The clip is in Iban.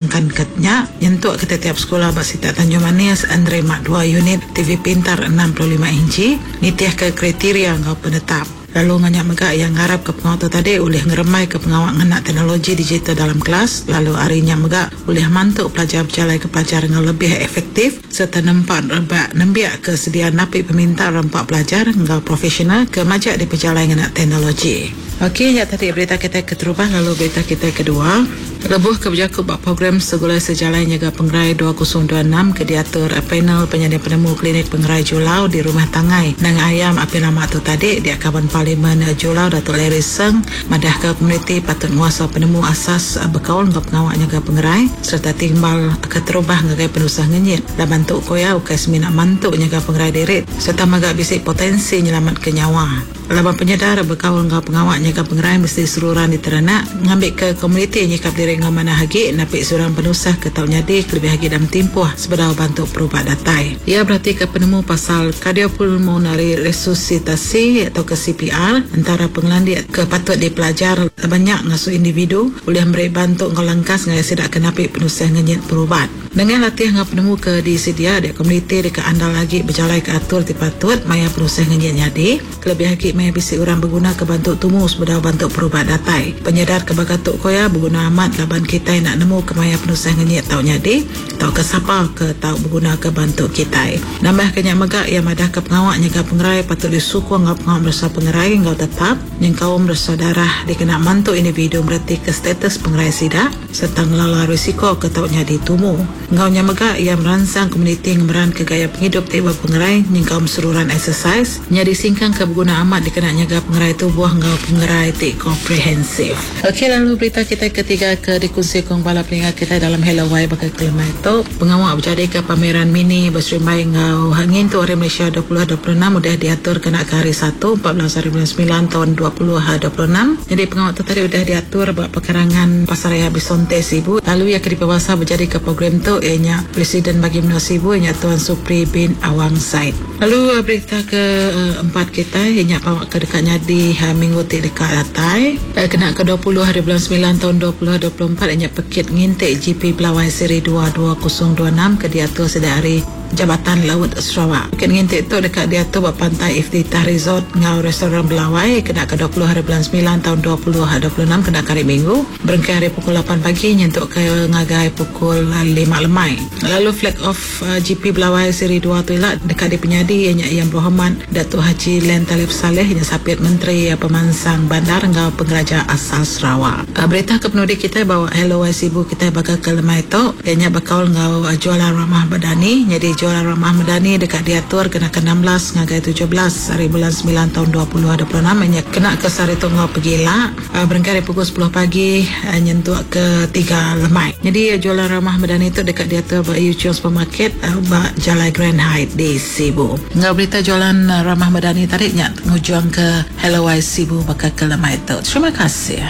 Nangkan ke nya, nyentuk ke tetiap sekula ba sitak Tanjung Manis nerima dua unit TV pintar 65 inchi nitihka kriteria enggau penetap. Lalu enggau nya mega iya ngarapka pengawa tu tadi ulih ngerembaika pengawa ngena teknologi digital dalam kelas lalu ari nya mega ulih mantu pelajar bejalaika pelajar enggau lebih efektif sereta nempa rebak nembiak ke sedia napi peminta rampa pelajar enggau profesional ke majak dipejalai ngena teknologi. Okey, nya tadi berita kitai keterubah lalu berita kitai kedua. Lebuh ke bejaku ba program Segulai Sejalai Nyaga Pengerai 2026 ke diatur Panel Penyanding Penemu Klinik Pengerai Julau di Rumah Tangai, Nanga Ayam apin lama tu tadi, dia Kaban Parlimen Julau Datuk Larry Seng madahka komuniti patut nguasa penemu asas bekaul enggau pengawa nyaga pengerai sereta timbal keterubah ngagai penusah ngenyit laban tu ku iya ukai semina mantu nyaga pengerai diri sereta mega bisi potensi nyelamatka nyawa. Laban penyedar bekaul enggau pengawa nyaga pengerai mesti seruran diterenak ngambika komuniti nyikap diri enggau manah agi napi sebarang penusah ke tau nyadi kelebih agi dalam timpuh sebedau bantu perubat datai. Iya beratika penemu pasal kardiopulmonari resusitasi tauka CPR entara pengelandik ke patut dipelajar laban nya ngasuh individu ulih meri bantu enggau lengkas ngagai sida ke napi penusah ngenyit perubat. Nengah latih enggau penemu ke disedia dia komuniti deka andal agi bejalaika atur ti patut maya penusah ngenyit nyadi, kelebih agi maya bisi orang begunaka bantu tumu sebedau bantu perubat datai. Penyedar ke baka tu ku iya beguna amat laban kitai enda nemu kemaya penusah ngenyit tau nyadi tauka sapa ke tau begunaka bantu kitai. Nambahka nya mega iya madahka pengawa nyaga pengerai patut disukung enggau pengawa meresa pengerai enggau tetap nyengkaum meresa darah dikena mantu individu meretika status pengerai sida. Sereta ngelala risiko ke tau nyadi tumu. Enggau nya mega, iya meransang komuniti ngemeranka gaya pengidup ti bepengerai nyengkaum seruran eksesais nyadi singkang ke beguna amat dikena nyaga pengerai tubuh enggau pengerai ti komprehensif. Okey lalu berita kitai ketiga ke dikunsi kong bala peninga kitai dalam Hello Wai baka kelemai tu, pengawa bejadika pameran mini beserimbai enggau ngintu Hari Malaysia 2026 udah diatur kena ke Hari Satu, 14 hari bulan semilan taun 2026. Nyadi pengawa tu tadi udah diatur ba pekarangan Pasaraya Bisonte Sibu lalu iya ke dipebasa bejadika program tu iya nya Presiden Bagi Menua Sibu iya nya Tuan Supri bin Awang Said. Lalu berita ke empat kitai iya nya pengawa ke deka nyadi minggu ti deka datai kena ke 20 hari bulan semilan taun 2024 iya nya pekit nginti GP Belawai Seri dua 2026 ke diatur sida ari Jabatan Laut Sarawak. Pekit nginti tu deka diatur ba Pantai Iftitah Resort enggau Restoran Belawai kena ke 20 hari bulan semilan taun 2026 kena ke hari Minggu berengkah ari pukul lapan pagi nyentuk ke ngagai pukul lima lemai. Lalu Flag Off GP Belawai Seri dua tu ila deka dipenyadi iya nya Yang Berhormat Datuk Haji Len Talif Salleh nya Sapit Menteri Pemansang Bandar enggau Pengeraja Asal Sarawak. Berita ke penudi kitai ba Hello Wai Sibu kitai baka ke lemai tu iya nya bekaul enggau Jualan Ramah Madani. Nyadi Jualan Ramah Madani deka diatur kena ke 16 ngagai 17 hari bulan semilan taun 2026 iya nya kena ke sehari tu enggau pegila berengkah ari pukul sepuluh pagi nyentuk ke tiga lemai. Nyadi Jualan Ramah Madani tu deka diatur ba Yu Cheong Supermarket ba Jalai Grand Height di Sibu. Enggau berita Jualan Ramah Madani tadi nya ngujungka Hello Wai Sibu baka ke lemai tu. Terima kasih.